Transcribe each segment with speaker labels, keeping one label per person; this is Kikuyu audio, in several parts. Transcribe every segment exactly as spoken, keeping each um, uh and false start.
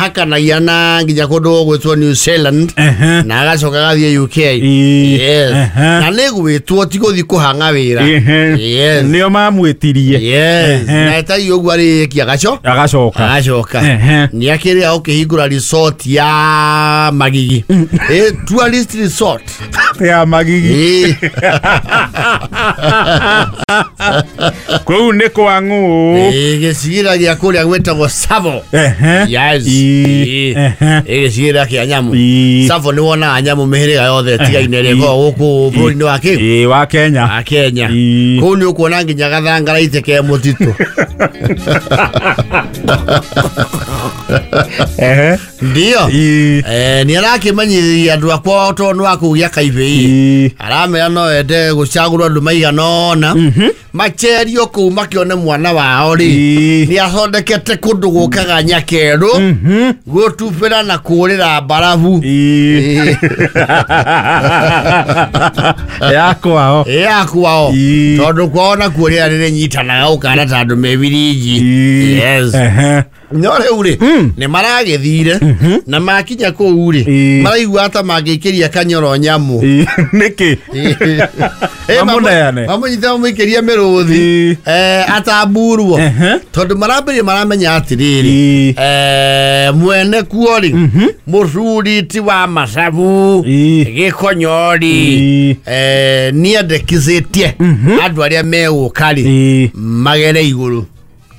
Speaker 1: Ahakanagia na nginya kũndũ gwĩtwo New Zealand
Speaker 2: Ehe.
Speaker 1: na agacoka agathiĩ U K.
Speaker 2: Ĩĩ.
Speaker 1: Yes.
Speaker 2: Ehe.
Speaker 1: Na nĩ gwĩtwo ti gũthiĩ kũhang'a wĩra.
Speaker 2: Ehe.
Speaker 1: Yes.
Speaker 2: Nĩo mamwĩtirie.
Speaker 1: Yes.
Speaker 2: Ehe.
Speaker 1: Na etagia ũguo arĩkia agaco
Speaker 2: Agacoka.
Speaker 1: agacoka.
Speaker 2: Ehe.
Speaker 1: Nĩ akĩrĩa ũkĩhingũra resort ya Magigi. Eh, tourist resort.
Speaker 2: Ya Magigi.
Speaker 1: Ĩĩ.
Speaker 2: Kũu nĩ kwa ng'ũ.
Speaker 1: Ĩĩ, gĩcigĩrĩra gĩa kũrĩa gwĩtagwo Savo.
Speaker 2: Ehe.
Speaker 1: Yes.
Speaker 2: Ĩĩ.
Speaker 1: Ĩĩ.
Speaker 2: Ehe.
Speaker 1: Ĩĩ, gĩcigĩrĩra kĩa nyamũ.
Speaker 2: Ĩĩ.
Speaker 1: Savo nĩ wonaga nyamũ mĩhĩrĩga yothe ĩtigaine ĩrĩa ĩkoragwo gũkũ bũrũri-inĩ wa kĩ?
Speaker 2: Ĩĩ, wa Kenya.
Speaker 1: Wa Kenya.
Speaker 2: Ĩĩ.
Speaker 1: Kũu nĩ ũkuona nginya gathangaraite ke mũtitũ.
Speaker 2: Ehe.
Speaker 1: Ndio.
Speaker 2: Ĩĩ.
Speaker 1: Eh, nĩ arakĩmenyithia andũ akwa tondũ nĩ wa kũu gĩa Kaibĩ.
Speaker 2: Ĩĩ.
Speaker 1: Aramera no ende gũcagũrwo andũ maigana ũna macerio kũu makĩone mwana wao rĩ
Speaker 2: Ĩĩ.
Speaker 1: nĩ athondekete kũndũ gũkaga nyakerũ gũtubĩra na kũũrĩra mbarabu.
Speaker 2: Ĩĩ. Ya kwao.
Speaker 1: Ĩ, ya kwao.
Speaker 2: Ĩĩ.
Speaker 1: Tondũ kwao nakuo rĩera nĩrĩnyitanaga gũkana ta andũ me birinji.
Speaker 2: Ĩĩ.
Speaker 1: Yes.
Speaker 2: Ehe.
Speaker 1: No rĩu rĩ nĩ maragĩthire na makinya kũu rĩ
Speaker 2: Ĩĩ.
Speaker 1: maraigua ta mangĩikĩria kanyoro nyamũ.
Speaker 2: Ĩĩ. Nĩkĩ?
Speaker 1: Ĩ,
Speaker 2: Mamũneane.
Speaker 1: mamũnyite mamũikĩrie mĩrũthi
Speaker 2: Ĩĩ.
Speaker 1: eh, atamburwo
Speaker 2: Ehe.
Speaker 1: tondũ marambĩrĩria maramenya atĩrĩrĩ
Speaker 2: Ĩĩ.
Speaker 1: eh, mwene kuo rĩ mũcuri ti wa macabu
Speaker 2: Ĩĩ.
Speaker 1: gĩkonyo rĩ
Speaker 2: Ĩĩ.
Speaker 1: eh, nĩendekithĩtie andũ arĩa megũka rĩ
Speaker 2: Ĩĩ.
Speaker 1: magere igũrũ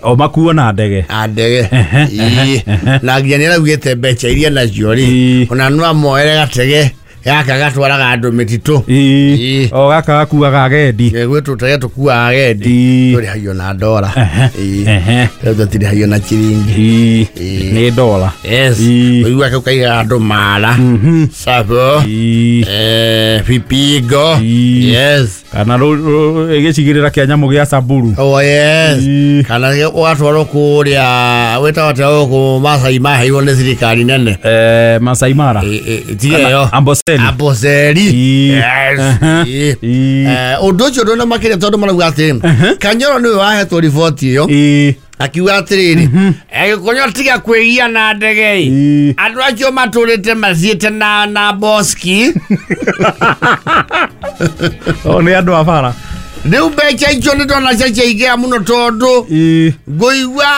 Speaker 2: O makuo na ndege.
Speaker 1: a ndege.
Speaker 2: Ehe,
Speaker 1: Ĩĩ. Na nginya nĩ araugĩte mbeca iria nacio rĩ
Speaker 2: Ĩĩ.
Speaker 1: ona no amoere gatege gaka gatwaraga andũ mĩtitũ.
Speaker 2: Ĩĩ.
Speaker 1: Ĩĩ.
Speaker 2: O gaka gakuaga agendi.
Speaker 1: Gwĩ tũtege tũkuaga agendi
Speaker 2: Ĩĩ.
Speaker 1: tũrĩhagio na ndora.
Speaker 2: Ehe.
Speaker 1: Ĩĩ.
Speaker 2: Ehe.
Speaker 1: Rĩu tũtirĩhagio na chiringi.
Speaker 2: Ĩĩ.
Speaker 1: Ĩĩ.
Speaker 2: Nĩ dola.
Speaker 1: Yes.
Speaker 2: Ĩĩ.
Speaker 1: Ũigua kau kaigaga andũ mara Savo
Speaker 2: Ĩĩ.
Speaker 1: eh, Vipingo.
Speaker 2: Ĩĩ.
Speaker 1: Yes.
Speaker 2: Kana gĩcigĩrĩra kĩa nyamũ gĩa Samburu.
Speaker 1: Oh yes.
Speaker 2: Ĩĩ.
Speaker 1: Kana ũgatwarwo kũrĩa wĩtagwo atĩa gũkũ Masai maheirwo nĩ thirikari nene.
Speaker 2: Eh, Masai Mara.
Speaker 1: Ĩ- ĩ- tiga ĩyo.
Speaker 2: Amboseli.
Speaker 1: Amboseli.
Speaker 2: Ĩĩ.
Speaker 1: Yes.
Speaker 2: Ehe.
Speaker 1: Ĩĩ.
Speaker 2: Ĩĩ.
Speaker 1: Eh, ũndũ ũcio ndũna makĩria tondũ marauga atĩ Kanyoro nĩwe wahetwo riboti ĩyo
Speaker 2: Ĩĩ.
Speaker 1: akiuga atĩrĩrĩ Gĩkonyo tiga kwĩgia na ndege ĩ
Speaker 2: Ĩĩ.
Speaker 1: andũ acio matũrĩte mathiĩte na na boski
Speaker 2: O nĩ andũ a bara.
Speaker 1: rĩu mbeca icio nĩ ndona ciaingĩra mũno tondũ
Speaker 2: Ĩĩ.
Speaker 1: ngũigua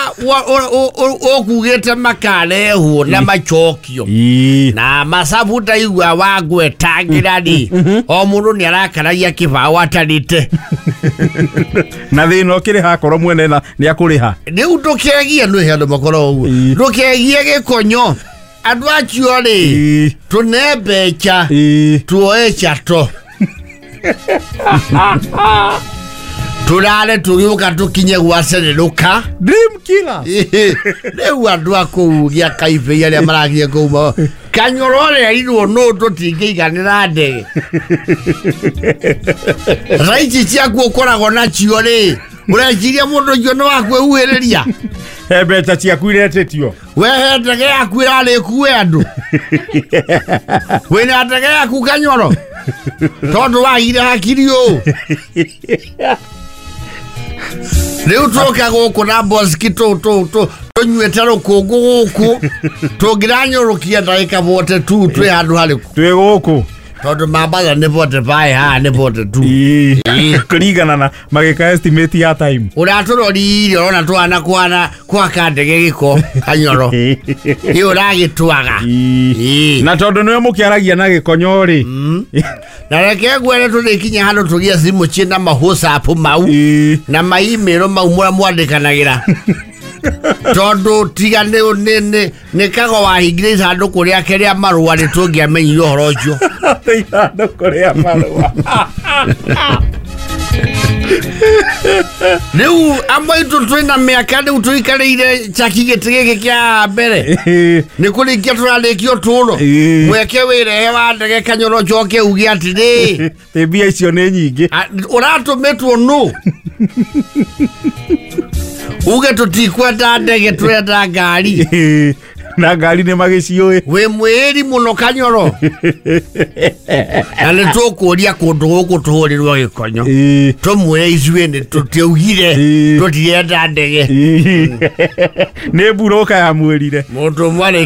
Speaker 1: ũkugĩte makarehwo na macokio
Speaker 2: Ĩĩ.
Speaker 1: na macabu ndaigua wangwetangĩra rĩ o mũndũ nĩ arakaragia kĩbaũ atarĩte.
Speaker 2: Na thĩna ũkĩrĩha akorwo mwene na nĩ akũrĩha.
Speaker 1: Rĩu ndũkegie nĩ andũ makoragwo ũguo
Speaker 2: Ĩĩ.
Speaker 1: ndũkegie gĩkonyo andũ acio rĩ
Speaker 2: Ĩĩ.
Speaker 1: tũne mbeca
Speaker 2: Ĩĩ.
Speaker 1: tuoe chato tũrare tũgĩũka tũkinye gwacererũka.
Speaker 2: Dream killer.
Speaker 1: Rĩu andũ a kũu gĩa Kaibĩ arĩa marathiĩ kũu ma- Kanyoro ũrĩa nũ tũtingĩiganĩra ndege raici ciaku ũkoragwo nacio rĩ ũreciria mũndũ ũcio nĩ wa kwĩhuhĩrĩria.
Speaker 2: He mbeca ciaku iretĩtio.
Speaker 1: Wehe ndege yaku ĩrarĩkue andũ wĩna ndege yaku Kanyoro tondũ wagire hakiri ũũ rĩu tũka gũkũ na boski tũnyuĩte rũkũngũ gũkũ tũngĩranyũrũkia ndagĩka bote tu twĩ handũ harĩkũ
Speaker 2: Twĩ gũkũ.
Speaker 1: tondũ Mambatha nĩ bote baĩ haha nĩ bote tu.
Speaker 2: Ĩĩ.
Speaker 1: Ĩĩ.
Speaker 2: Kũringana na magĩka estimate ya time.
Speaker 1: Ũratũrorire ũrona twana kwana gwaka ndege gĩko Kanyoro ĩ ũragĩtwaga.
Speaker 2: Ĩĩ.
Speaker 1: Ĩĩ.
Speaker 2: Na tondũ nĩwe mũkĩaragia na gĩkonyo rĩ.
Speaker 1: Na reke ngwĩre tũrĩkinya handũ tũgĩe thimũ ciĩna ma WhatsApp mau
Speaker 2: Ĩĩ.
Speaker 1: na ma email mau mũrĩa mwandĩkanagĩra tondũ tiga nĩ nĩ nĩ nĩ kago wahingire ithandũkũ rĩake rĩa marũa nĩ tũngĩamenyire ũhoro ũcio.
Speaker 2: Ithandũkũ rĩa marũa.
Speaker 1: Rĩu amwe aitũ twĩna mĩaka rĩu tũikarĩire chaki gĩtĩ gĩkĩ kĩa mbere
Speaker 2: Ĩĩ.
Speaker 1: nĩ kũrĩkia tũrarĩkia ũtũũro
Speaker 2: Ĩĩ.
Speaker 1: mweke wĩrehe wa ndege Kanyoro njoke uge atĩrĩ
Speaker 2: Ĩ mbia icio nĩ nyingĩ.
Speaker 1: A- ũratũmĩtwo nũ uge tũtikwenda ndege tũrenda ngari.
Speaker 2: Ĩĩ. Na ngari nĩ magĩciũĩ.
Speaker 1: Wĩ mwĩri mũno Kanyoro na nĩ tũkũria kũndũ gũkũ tũhũrĩrwo gĩkonyo
Speaker 2: Ĩĩ.
Speaker 1: tũmwĩre ithuĩ nĩ tũtiaugire
Speaker 2: Ĩĩ.
Speaker 1: tũtirenda ndege.
Speaker 2: Ĩĩ. Nĩ mburũka yamwĩrire.
Speaker 1: Mũndũ ũmwe arĩ